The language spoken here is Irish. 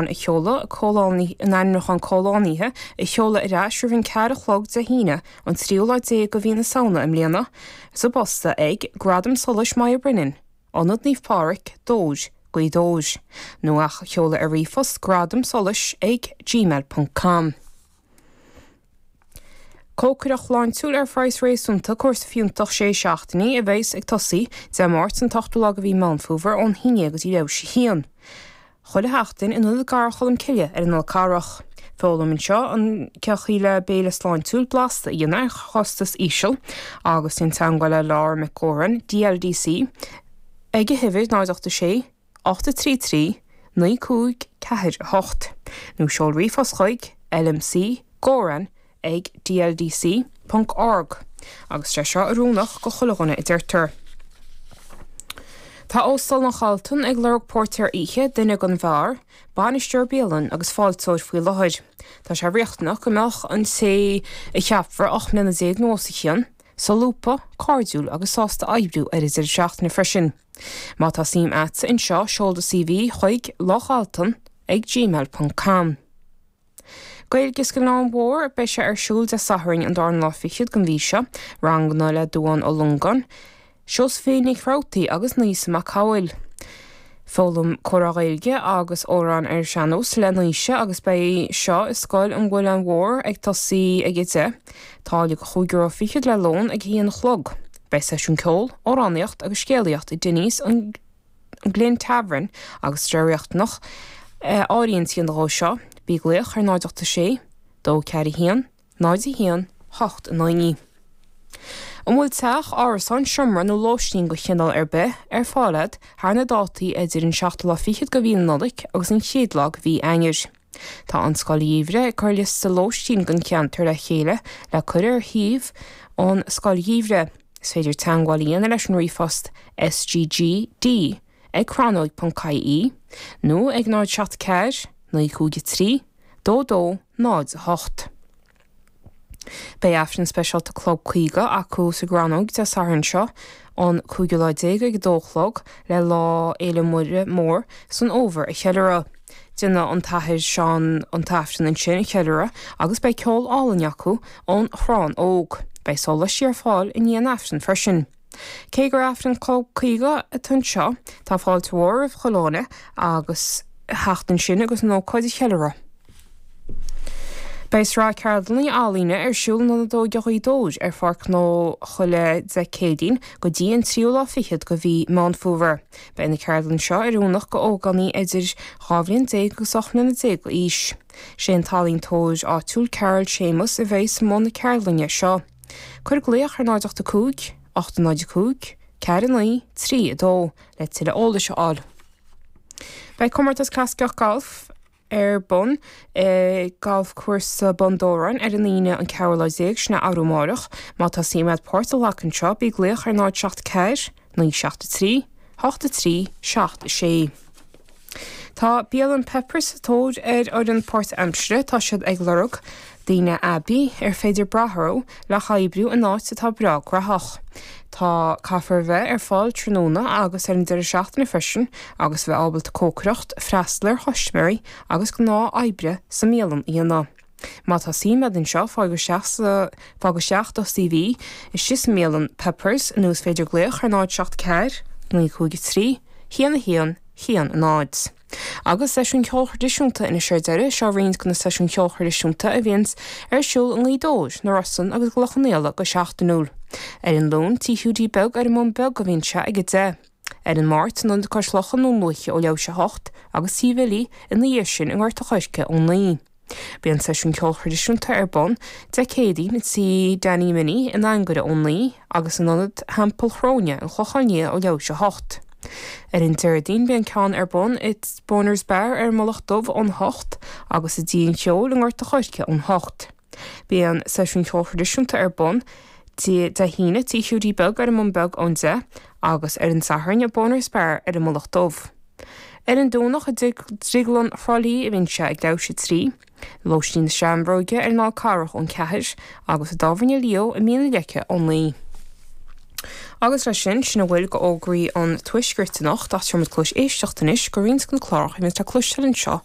A sheoladh, an ainmniúchán comhlánaithe a sheoladh ar ais roimh an ceathair a chlog Dé hAoine, an tríú lá déag de mhí na Samhna i mbliana, sa bposta ag, Gradam Solais Moya Brennan, Ionad Naomh Pádraig, Dobhair, Gaoth Dobhair, nó ach a sheoladh ar ríomhphost gradamsolais ag gmail ponc com. Cócaireacht shláintiúil ar phraghas réasúnta, cúrsa fiúntach sé seachtainí a bheas ag tosaí Dé Máirt an t-ochtú lá de mhí Meán Fómhair ón haon déag go dtí leathuair théis a haon. Chuile sheachtain in Ionad Garraí Cholm Cille ar an Fhol Carrach. Foghlaim anseo an cén chaoi le béile sláintiúil blasta a dhéanamh ar chostas íseal agus déan teagmháil le Laura McGauran, DLDC, ag a huimhir 0 8 6 8 3 3 9 5 4 8 nó seol ríomhphost chuig lmc gauran ag dldc ponc org agus sé seo oiriúnach go chuile dhuine a deirtear. Tá Óstán an Chalton ag lorg póirtéir oíche, duine don bheár, bainisteoir bialann agus fáilteoir faoi láthair. Tá sé riachtanach go mbeadh an té a cheapfar 18 mbliana nó os a chionn, solúbtha, cairdiúil agus sásta oibriú ar an deireadh seachtaine freisin. Má tá suim a'dsa anseo seol do CV chuig lochalton ag gmail ponc com. Gaeilge san Ghleann Mhór, beidh sé ar siúl Dé Sathairn an darna lá fichead den mhí seo, ranganna le Dubhán Ó Longáin, Seosaimhín Nic Rabhartaigh agus Naoise Mac Cumhaill. Foghlaim comhrá Gaeilge agus amhráin ar an sean-nós le Naoise agus beidh seo i Scoil an Mhuileann Mhór ag tosaí ag 10, táille de chúig euro fichead le lón ag a haon a chlog. Beidh seisiún ceoil, amhránaíocht agus scéalaíocht i Denny's an Glynn Tavern agus tá sé riachtanach áirithint a dhéanamh dhó seo, bí ag glaoch ar 0 8 6 2 4 1 0 1 8 9. An bhfuil teach, árasán, seomra nó lóistín de chineál ar bith ar fáil agat thar na dátaí idir an seachtú lá fichead de mhí na Nollag agus an chéad lá de mhí Eanáir? Tá an Scoil Gheimhridh ag cur liosta lóistín don cheantar le chéile le cur ar shuíomh an Scoil Gheimhridh. Is féidir teagmháil a dhéanamh leis an ríomhphost sggd ag crannóg.ie nó ag 0 7 4 9 5 3 2 2 0 8. Beidh Aifreann speisialta Club 50 acu sa gCrannóg Dé Sathairn seo, an cúigiú lá déag ag a dó a chlog le Lá Fhéile Muire Mór san Fhómhar a cheiliúradh. Déanfaidh an tAthair Seán an tAifreann ansin a cheiliúradh agus beidh ceol álainn acu ón Chrann Óg. Beidh sóláistí ar fáil i ndiaidh an Aifrinn freisin. Cé gur Aifreann Club 50 atá anseo, tá fáilte mhór roimh chuile dhuine agus theacht ansin agus an ócáid a cheiliúradh. Beidh sraith ceardlanna ealaíne ar siúl in Ionad Óige Ghaoth Dobhair ar Pháirc Ghnó Choille Dé Céadaoin go dtí an tríú lá fichead de mhí Meán Fómhair. Beidh na ceardlanna seo oiriúnach go ógánaigh idir 12 bhliain agus 18 mbliana d'aois. Sé an t-ealaíontóir áitiúil Carol Séamus a bheidh i mbun na ceardlainne seo. Cuir glaoch ar 0 8 5 8 0 5 4 9 3 2 le tuilleadh eolais a fháil. Beidh comórtas clasaiceach gailf ar bun i Galfchúrsa Bun Dobhráin ar an Aoine an ceathrú lá déag, sin é arú amáireach. Má tá suim agat páirt a ghlacadh anseo, bí ag glaoch ar 0 7 4 9 7 3 8 3 7 6. Tá bialann Peppers sa tóir ar fhoireann páirtaimsire. Tá siad ag lorg daoine aibí ar féidir brath orthu le hoibriú in áit atá breá graitheach. Tá caithfear a bheith ar fáil tráthnóna agus ar an deireadh seachtaine freisin agus a bheith ábalta cócaireacht, freastal ar chustaiméirí agus gnáth oibre sa mbialann a dhéanamh. Má tá suim agat anseo, fág isteach sa fág isteach do CV istigh sa mbialann Peppers nó is féidir glaoch ar 0 7 4 9 5 3 1 1 1 0. Agus seisiúin cheoil thraidisiúnta anois ar deireadh, seo roinnt de na seisiúin cheoil thraidisiúnta a bhíonns ar siúl i nGaoth Dobhair, na Rosann agus i gCloich Cheann Fhaola go seachtainiúil. Ar an Luan, Tí Hiúdaí Beag ar an mBun Beag a bhíonn sé ag 10. Ar an Máirt, in Ionad Cois Locha i nDún Lúiche ó leathuair théis a hocht agus Tí Bhilly ina dhiaidh sin i nGort a' Choirce ón 9. Bíonn seisiún ceoil thraidisiúnta ar bun Dé Céadaoin i dTí Danny Minnie in Anagaire ón 9 agus in Ionad Theampall Chróine, An Clochán Liath ó leathuair théis a hocht. Ar an Déardaoin bíonn ceann ar bun i Boner's Bar ar an Mullach Dubh ón 8 agus i dTí an Cheoil i nGort a' Choirce ón 8. Bíonn seisiún ceoil thraidisiúnta ar bun Dé hAoine i Tí Hiúdaí Beag ar an mBun Beag ón 10 agus ar an Satharn i Boner's Bar ar an Mullach Dubh. Ar an Domhnach i Drioglann Thrá Lí a bhíonn sé ag leathuair théis a 3, Lóistín na Seamróige ar an Fhál Carrach ón 4 agus i dTábhairne Leo i Mín na Leice ón 9. Agus leis sin, sin a bhfuil d'fhógraí an Tuaiscirt anocht ach tabharfaidh muid cluas éisteachta anois go roinnt de na cláracha a bhíonns le cloisteáil anseo.